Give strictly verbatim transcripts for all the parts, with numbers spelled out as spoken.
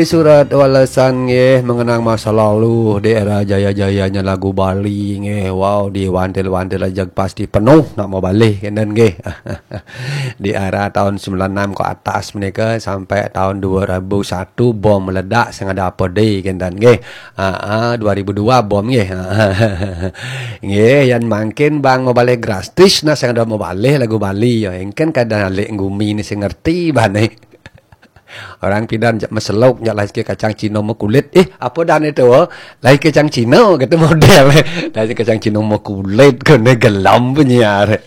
Surat walesan nggih, mengenang masa lalu di era jaya-jayanya lagu Bali nggih. Wow, diwantil-wantil aja pasti penuh nak mau balik kenten nggih. Di era tahun sembilan enam ke atas menika sampai tahun dua ribu satu bom meledak sing ada apa deh kenten nggih. Ah, ah, dua ribu dua bom nggih. Nggih, yan mangkin bang mau balik gratis nah sing ada mau balik lagu Bali ya. Engken kada alik gumi ni sing ngerti bane. Orang pidan jak meseluk, jak lahir ke kacang Cina mau kulit. Eh, apa dan itu? Oh? Lahir kacang Cina gitu model. Lahir kacang Cina mau kulit kena gelam penyiar.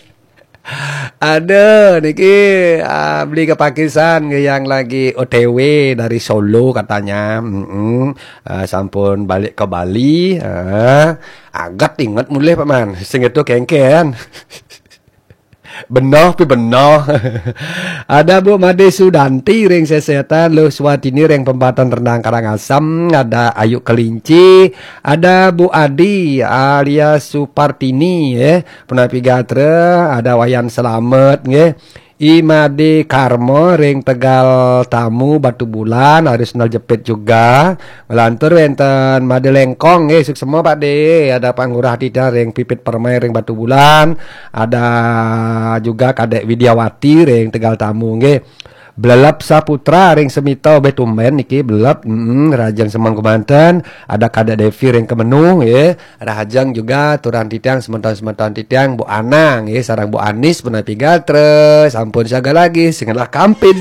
Ada niki ah, beli ke Pakistan ke yang lagi O T W dari Solo katanya. Mm-mm. Ah, sampun balik ke Bali. Ah, agat ingat mulih paman. Sing itu kengken. Benoh pi benoh. Ada Bu Made Sudanti ring Sesetan, Luh Swatini ring Pempatan Rendang Karangasem, ada Ayu Kelinci, ada Bu Adi alias Supartini ya, Punapi Gatra, ada Wayan Selamet nggih. I Made Karma ring Tegal Tamu Batu Bulan, Arisnal Jepit juga. Ngelantur wenten Made Lengkong nggih, suksema Pak De, ada Pak Ngurah Tita ring Pipit Permai ring Batu Bulan, ada juga Kadek Widiawati ring Tegal Tamu nggih. Blelep Saputra ring Semita obeh tumben niki blelep, mm, Rajang Semang Kemanten, ada Kadek Devi ring Kemenuh nggih. Rahajeng juga turan titiang semeton-semeton titiang Bu Anang nggih, sareng Bu Anis Punapi Gatra, sampun siaga lagi, sing ngelah kampin.